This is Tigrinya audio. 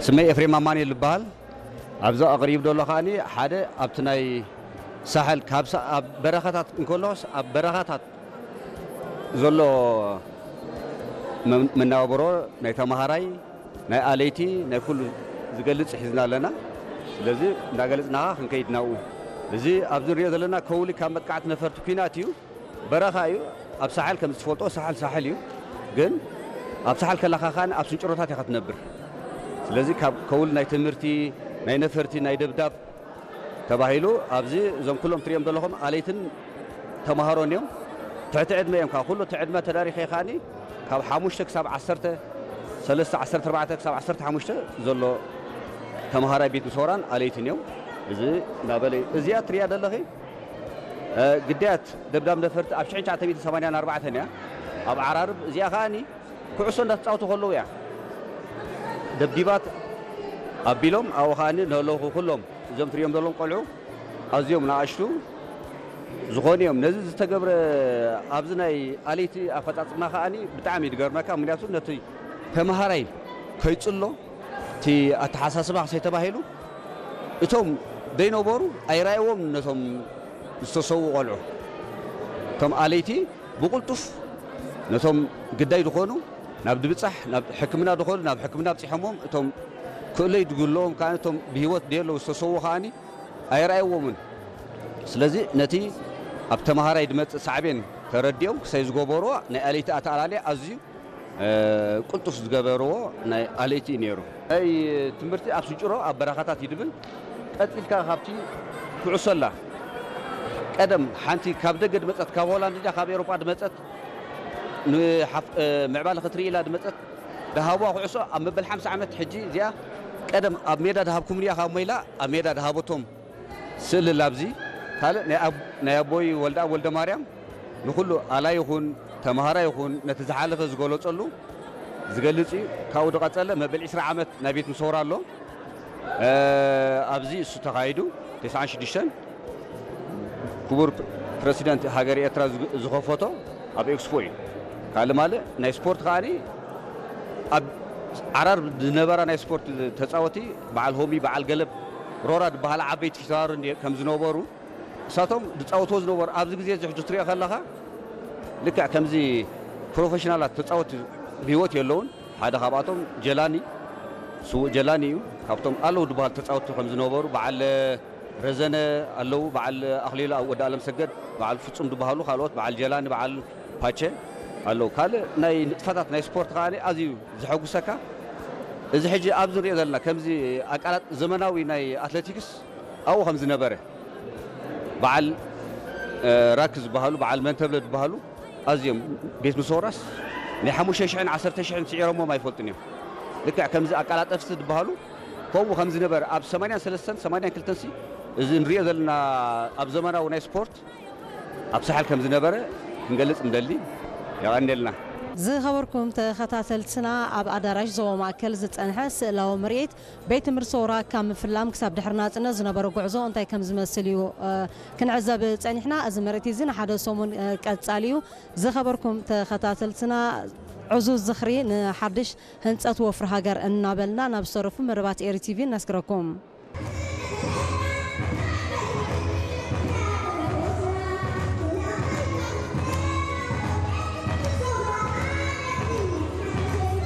ስመይ ኤፍሬም ኣማኑኤል ይበሃል። ኣብዚ ኣቕሪቡ ዘሎ ከኣኒ ሓደ ኣብቲ ናይ ሳሕል ካብ ሳ- ኣብ በረኻታት እንከሎስ ኣብ በረኻታት ዘሎ መ- መነባብሮ ናይ ተምሃራይ ናይ ኣለይቲ ናይ ኩሉ ዝገልጽ ሒዝና ኣለና። ስለዚ እንዳገለጽናኻ ክንከይድ ናብኡ። እዚ ኣብዚ ንሪኦ ዘለና ከውሊ ካብ መጥቃዕቲ ነፈርቲ ኲናት እዩ። በረኻ እዩ። ኣብ ሳሕል ከም ዝትፈልጦ ሳሕል ሳሕል እዩ። ግን ኣብ ሳሕል ከለኻ ከኣ ኣብ ስንጭሮታት ኢኻ ትነብር። ስለዚ ካብ ከውል ናይ ትምህርቲ ናይ ነፈርቲ ናይ ደብዳብ ተባሂሉ ኣብዚ እዞም ኩሎም ትሪኦም ዘለኹም ኣለይትን ተምሃሮን እዮም። ትሕቲ ዕድመ እዮም። ካብ ኩሉ እቲ ዕድመ ተዳሪኸ ከኣኒ ካብ ሓሙሽተ ክሳብ ዓሰርተ ሰለስተ ዓሰርተ ኣርባዕተ ክሳብ ዓሰርተ ሓሙሽተ ዘሎ ተምሃራይ ቤት ምሶራን ኣለይትን እዮም። እዚ እናበለ እዩ። እዚኣ ትሪያ ዘለኺ ግዳያት ደብዳብ ነፈርቲ ኣብ ሽሕን ትሽዓተ ሚእትን ሰማንያን ኣርባዕተን እያ። ኣብ ዓራርብ እዚኣ ከኣኒ ኩዕሶ እንዳተፃወቱ ከለዉ እያ ደብዲባት ኣቢሎም ኣብኡ ከኣኒ ነለኹ ኩሎም እዞም ትሪኦም ዘለዎም ቆልዑ ኣዝዮም ንኣሽቱ ዝኾኑ እዮም። ነዚ ዝተገብረ ኣብዚ ናይ ኣለይቲ ኣፈፃፅማ ከኣኒ ብጣዕሚ እዩ ዝገርመካ። ምክንያቱ ነቲ ተምሃራይ ከይፅሎ እቲ ኣተሓሳስባ ክሰይ ተባሂሉ እቶም ዘይነበሩ ኣይረኣይዎም ነቶም ዝተሰዉ ቆልዑ እቶም ኣለይቲ ብቕልጡፍ ነቶም ግዳይ ዝኾኑ ናብ ድብፃሕ ናብ ሕክምና ዝኾኑ ናብ ሕክምና ኣብፂሖሞም እቶም ክእለይ ድግለዎም ከዓ እቶም ብሂወት ደየለዉ ዝተሰዉ ከዓኒ ኣይረኣይዎምን። ስለዚ ነቲ ኣብ ተምሃራይ ድመፅእ ሳዕቤን ተረዲኦም ክሳይ ዝገበርዎ ናይ ኣለይቲ ኣተኣላልያ ኣዝዩ ቅልጡፍ ዝገበርዎ ናይ ኣለይቲ እዩ ነይሩ። ናይ ትምህርቲ ኣብ ስንጭሮ ኣብ በረኻታት እዩ ድብል ቀፂልካ ካብቲ ኩዕሶ ኣላ ቀደም ሓንቲ ካብ ደገ ድመፀት ካብ ሆላንድ ድያ ካብ ኤሮጳ ድመፀት ምዕባለ ክትርኢ ኢላ ድመፀት ድሃብዋ ኩዕሶ ኣብ መበል ሓምሳ ዓመት ሕጂ እዚኣ ቀደም ኣብ ሜዳ ድሃብኩም ድያ ካብ ሞይላ ኣብ ሜዳ ድሃበቶም ስእሊ ላብዚ ካልእ ናይ ኣቦይ ወልደኣብ ወልደማርያም ንኹሉ ኣላ ይኹን ተምሃራ ይኹን ነቲ ዝሓለፈ ዝገለፀሉ ዝገልፅ እዩ። ካብኡ ዝቐፀለ መበል ዕስራ ዓመት ናይ ቤት ምሰውራ ኣሎ። ኣብዚ እሱ ተኻይዱ ተስዓን ሽዱሽተን ክቡር ፕረሲደንት ሃገር ኤርትራ ዝኸፈቶ ኣብ ኤክስፖ እዩ። ካልእ ማልእ ናይ ስፖርት ከዓኒ ኣብ ዓራር ዝነበራ ናይ ስፖርት ተፃወቲ በዓል ሆሚ በዓል ገለብ ሮራ ዝበሃላ ዓበይቲ ፊታውሪ ከም ዝነበሩ እሳቶም ዝፃወትዎ ዝነበሩ ኣብዚ ግዜ እዚ ሕጂ ትሪኦ ከለኻ ልክዕ ከምዚ ፕሮፌሽናላት ተፃወቲ ብህይወት የለውን። ሓደ ካብኣቶም ጀላኒ ስዉእ ጀላኒ እዩ። ካብቶም ኣለዉ ዝበሃል ተፃወቲ ከም ዝነበሩ በዓል ረዘነ ኣለዉ፣ በዓል ኣኽሊሉ ወዲ ኣለምሰገድ፣ በዓል ፍጹም ዝበሃሉ ካልኦት በዓል ጀላኒ በዓል ፓቸ ኣለዉ። ካልእ ናይ ንጥፈታት ናይ ስፖርት ከኣ ኣዝዩ ዘሐጉሰካ እዚ ሕጂ ኣብዚ ንሪኦ ዘለና ከምዚ ኣቃላጥ ዘመናዊ ናይ ኣትሌቲክስ ኣብኡ ከም ዝነበረ በዓል ራክ ዝበሃሉ በዓል መንተብለ ዝበሃሉ ኣዝዮም ቤት ምሰውራስ ናይ ሓሙሽተ ሽሕን ዓሰርተ ሽሕን ስዒሮሞም ኣይፈልጡን እዮም። ልክዕ ከምዚ ኣቃላጠፍቲ ዝበሃሉ ከምኡ ከም ዝነበረ ኣብ ሰማንያን ሰለስተን ሰማንያን ክልተን ሲ እዚ ንሪኦ ዘለና ኣብ ዘመናዊ ናይ ስፖርት ኣብ ሳሕል ከም ዝነበረ ክንገልጽ ንደሊ። የቐንየልና። ዝኸበርኩም ተኸታተልትና ኣብ ኣዳራሽ ዞባ ማእከል ዝጸንሐ ስእላዊ ምርኢት ቤት ትምህርቲ ሰውራ ካብ ምፍላም ክሳብ ድሕሪ ናጽነት ዝነበረ ጉዕዞ እንታይ ከም ዝመስል እዩ ክንዕዘብ ጸኒሕና። እዚ ምርኢት እዚ ንሓደ ሰሙን ቀጻሊ እዩ። ዝኸበርኩም ተኸታተልትና ዕዙዝ ዝኽሪ ንሓድሽ ህንጸት ወፍሪ ሃገር እናበልና ናብ ዝተረፉ መደባት ኤሪ ቲቪ ነስግረኩም።